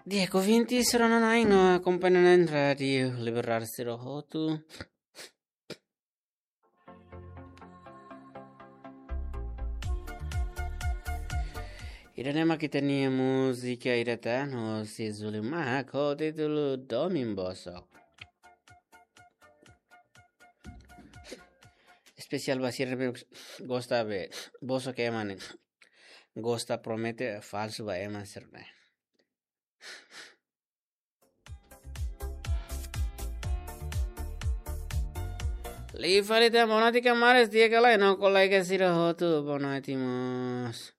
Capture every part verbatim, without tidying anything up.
Di'ak, ouvinte sira no na'in no akompaña na'in Rádiu Liberdade sira hotu. Ida-ne'e mak ita-nia múzika ida tan, hosi Zulimar, ho títulu Domin Bosok. Espesiál ba sira ne'ebé gosta be bosok ema ne'e. Gosta promete falsu ba ema sira-ne'e. Liu fali tan, boa noite kamaris, di'ak ka lae, no kolega sira hotu, boa noite mós.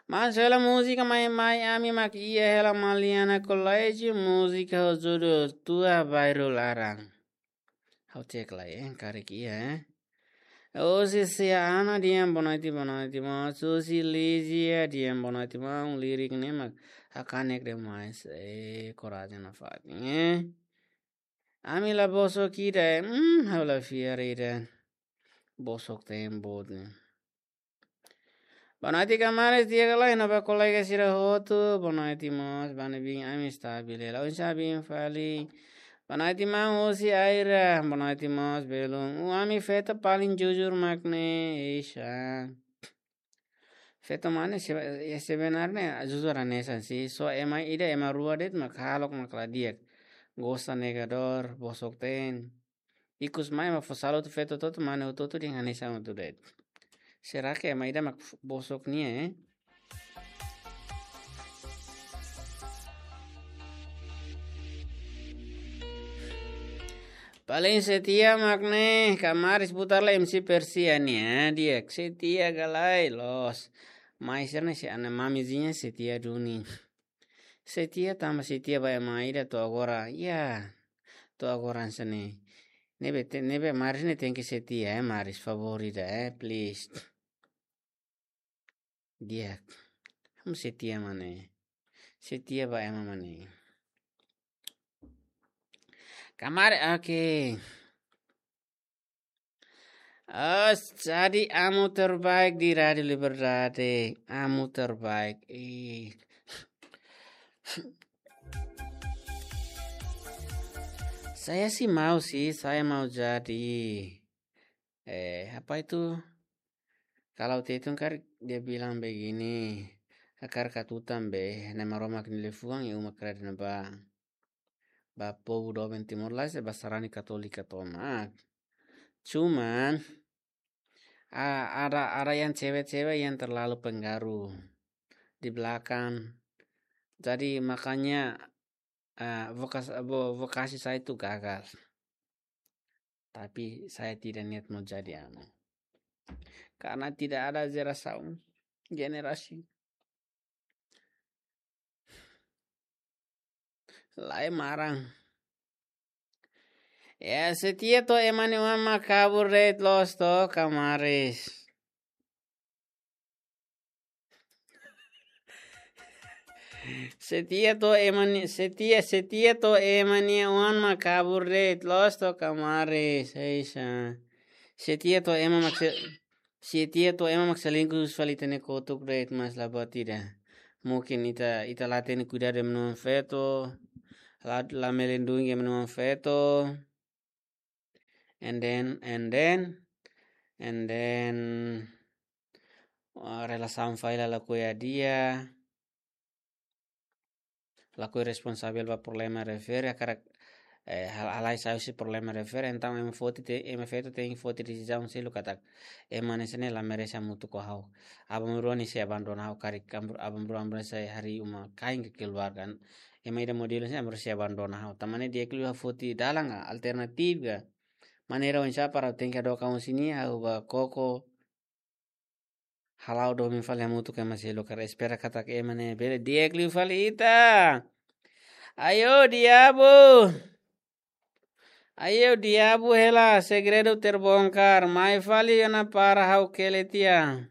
Mas hela múzika mai, mai ami mak iha hela Maliana Colégio, múzika ho judul Tua Bairru Laran. Ha'u cek lai, eh, karik iha, eh. Hosi Sia Ana, di'ak, boa noite, boa noite mós. Hosi Lizia, di'ak, boa noite mós. Lirik ne'e mak hakanek demais, eh, korajen nafatin, eh. Ami la bosok ida, eh, hmm, ha'u la fiar ida. Bosok teen boot ne'e. Boa noite kamaris, di'ak ka lae, no ba kolega sira hotu, boa noite mós, ba ne'ebé ami estabil hela, oinsá biin fali. Boa noite maun, hosi Aira, boa noite mós, belun. Ó, ami feto paling jujur mak ne'e, eixa. Feto mak ne'e, se-, eh, sebenarnya jujur hanesan sih, só ema ida ema rua de'it mak hahalok mak la di'ak. Gosta negadór, bosok teen. Ikus mai ema fó sala hotu feto hotu-hotu, mane hotu-hotu dehan hanesan hotu de'it. Será que ema ida mak f-, bosok nian, eh? Paling setia mak ne'e, kamaris putar lai M C Persia nian, eh, di'ak, setia ka lae, loos. Mai sira-ne'e se ana mamizinha setia duni. Setia tanba setia ba ema ida to'o agora. Ya. To'o agora hanesan ne'e. Ne'ebé te-, ne'ebé Maris ne'e tenke setia, eh, Maris, favór ida, eh, please. Di'ak. Ha'u setia mak ne'e. Setia ba ema mak ne'e. Kamar, oke. Oh, jadi amu terbaik di Rádiu Liberdade. Amu terbaik. Ih. Saya sih mau sih, saya mau jadi. Eh, apa itu? Kalau Tetun kan dia bilang begini, hakarak atu tan be, Nai Maromak nia liafuan iha uma kera ne'ebá. Ba povu doben Timor-Leste, ba sarani Katólika tomak. Cuman, a-, ada, ada yang cewek-cewek yang terlalu pengaruh di belakang. Jadi makanya, ah, vokas-, vo-, vokasi saya itu gagal. Tapi saya tidak niat mau jadi anu. Karena tidak ada jerasaun generasi. Lae marang. Ya, setia to'o ema nia oan mak kabur de'it, loos to'o kamaris. Setia to'o ema nia, setia, setia to'o ema nia oan mak kabur de'it, loos to'o kamaris, eixa. Setia to'o ema mak se-, setia to'o ema mak selingkuh fali ita-nia kotuk de'it, mas la buat ida. Mungkin ita, ita la hatene kuidadu ema nia oan feto, la, la melindungi ema nia oan feto. And then, and then, and then, uh, relasaun fali la lakohi hadi'a. Lakohi responsavel ba problema refere, hakarak, eh, hal-, halai sai husi problema refere, entaun ema foti te-, ema feto tenke foti desizaun seluk katak ema hanesan ne'e la merese hamutuk ho ha'u. Aban-bainrua nia sei abandona ha'u, karik am-, aban-bainrua, aban-bainrua sei harii uma kain ka keluarga. Ema ida modelu hanesan ne'e aban-bainrua sei abandona ha'u. Tanba ne'e di'ak liu ha'u foti dalan ka, alternativa ka, maneira oinsá para tenke hadook an husi nia, ha'u bá koko, hala'o domin fali hamutuk ho ema seluk, hakarak espera katak ema ne'e bele di'ak liu fali ita. Ayo diabu. Ayo diabu hela, segredu terbongkar. Mai fali ona para ha'u kele tiha.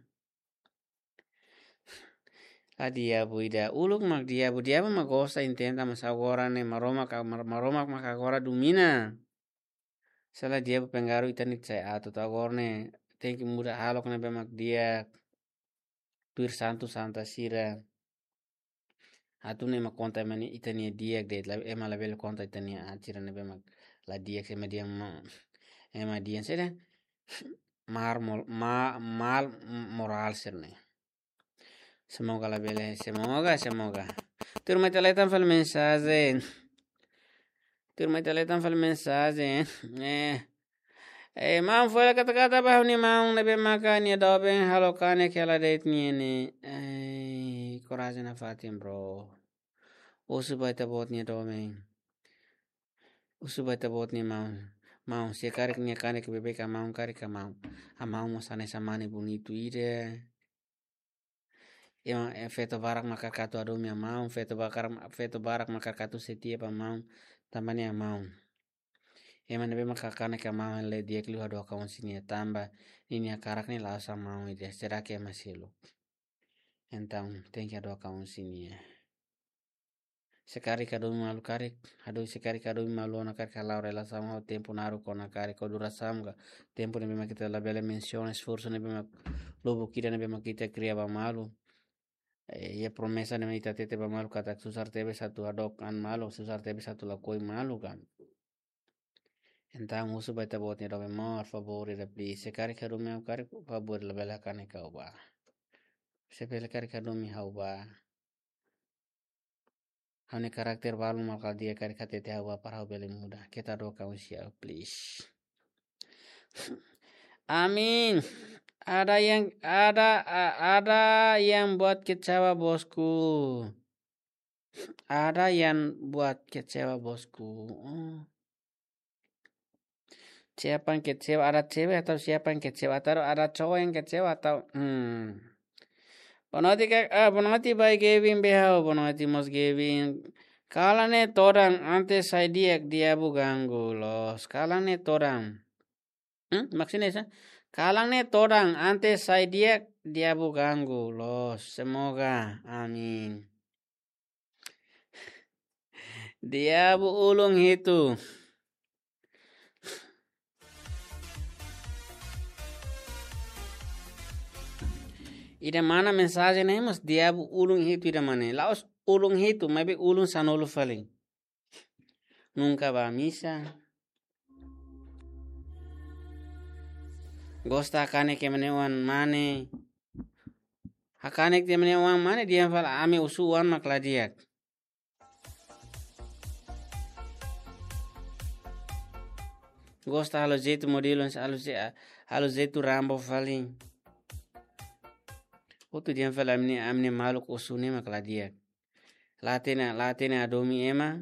La diabu ida, uluk mak diabu, diabu mak gosta intenta, mas agora ne'e Maromak, Mar-, Maromak mak agora domina. Se la diabu pengaruh ita-nia sai atu, to'o agora ne'e tenke muda hahalok ne'ebé mak di'ak. Tuir santu santa sira. Atu ne'e ema konta ema nia, ita-nia di'ak de'it, la, ema labele konta ita-nia aat sira ne'ebé mak la di'ak, ema di'ak ma, ema di'ak sira. Mar mol-, ma-, mal moral sira-ne'e. Semoga labele, semoga, semoga. Tuirmai ita leten fali mensajen. Tuirmai ita leten fali mensajen. Eh. Eh, maun fó hela kata-kata ba ha'u-nia maun ne'ebé maka nia doben halo kanek hela de'it nian ne'e. Eh, korajen nafatin, bro. Husu ba ita-boot nia doben. Husu ba ita-boot nia maun. Maun, se karik nia kanek beibeik, ha'u-nia karik ha'u-nia. Ha'u-nia mós hanesan mane bonitu ida. Ema, eh, feto barak maka katu hadomi ha'u-nia maun, feto bakar-, feto barak maka katu setia ba maun, tanba nia maun. Ema ne'ebé maka kanek ha'u-nia maun la di'ak liu hadook ha'u husi nia tanba ninia karak ne'e la'ós ha'u-nia maun ida, será que ema seluk. Entaun, tenke hadook ha'u husi nia. Se karik hadomi malu karik, hadomi, se karik hadomi malu ona karik, hala'o relasaun ha'u tempu naruk ona karik, ho durasaun ka, tempu ne'ebé mak ita labele mensiona esforsu ne'ebé mak lubuk ida ne'ebé mak ita kria ba malu. Eh, iha promesa ne'ebé ita hatete ba malu katak susar tebes atu hadook an malu, susar tebes atu lakohi malu ka. Entaun husu ba ita-boot nia doben, maun, favór ida please. Se karik hadomi ha'u karik, favór labele hakanek ha'u ba. Se bele karik hadomi ha'u ba. Ha'u-nia karakter balu mak la di'ak, karik hatete ha'u ba para ha'u bele muda. Keta hadook ha'u husi ha'u, please. Amin. Ada yang, ada, a-, ada yang buat kecewa, bosku. Ada yang buat kecewa, bosku. Oh. Siapa yang kecewa? Ada cewek atau siapa yang kecewa? Atau ada cowok yang kecewa atau, hmm. Boa noite, Kak, ah, boa noite, Bai Gavin Behau. Boa noite, Mos Gavin. Kalan ne'e todan, ante sai di'ak, diabu ganggu loos. Kalan ne'e todan. Hmm? Maksudnya sa? Kalan ne'e todan, ante sai di'ak, diabu ganggu loos. Semoga. Amin. Diabu ulun hitu. Ida mana mensajen ne'e mós diabu ulun hitu ida mana. La'ós ulun hitu, maibé ulun sanulu fali. Nunka bá misa. Gosta hakanek ema nia oan mane. Hakanek ema nia oan mane dehan fali ami husu oan mak la di'ak. Gosta halo jeitu modelu, halo je-, halo jeitu Rambo fali. Hotu dehan fali ami-nia, ami-nia maluk husu ne'e mak la di'ak. La hatene, la hatene hadomi ema,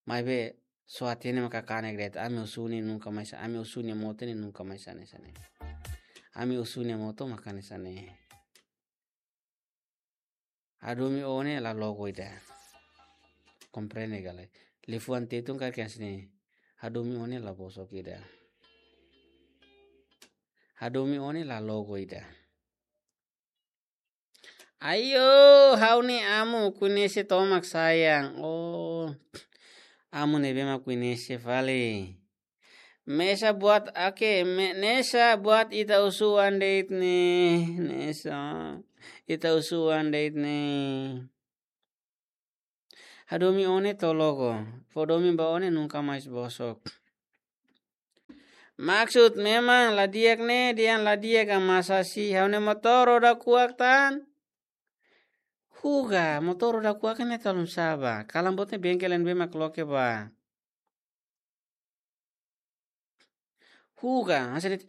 maibé só hatene maka kanek de'it, ami husu ne'e nunka mais, ami husu nia moto ne'e nunka mais hanesan ne'e. Ami husu nia moto maka hanesan ne'e. Hadomi ó ne'e la logo ida. Komprende ka lae? Liafuan Tetun karik hanesan ne'e. Hadomi ó ne'e la bosok ida. Hadomi ó ne'e la logo ida. Ayo, ha'u-nia amu koñese tomak sayang. Oh, amu ne'ebé mak koñese fali. Mesak buat, oke, me-, mesak buat ita husu oan de'it ne'e, mesak. Ita husu oan de'it ne'e. Hadomi ó ne'e to'o logo, fó domin ba ó ne'e nunka mais bosok. Maksud memang la di'ak ne'e, dehan la di'ak ka masa si ha'u-nia motór roda kuak tan. Huga, motór roda kuak ne'e talun saba. Kalan boot ne'e bengkel ne'ebé mak loke ba. Huga, hanesan ne'e.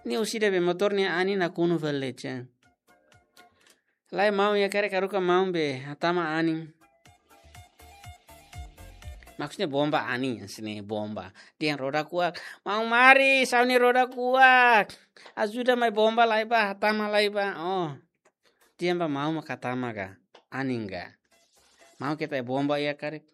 Ne'e husi ida be motór nia anin nakonu fali de'it. Lae, maun iha karik haruka maun be hatama anin. Maksudnya bomba anin, hanesan ne'e bomba. Dehan roda kuak. Maun mari, ha'u-nia roda kuak. Ajuda mai bomba lai bá, hatama lai bá. Oh. Dehan ba maun mak hatama ka, anin ka. Maun keta bomba iha karik.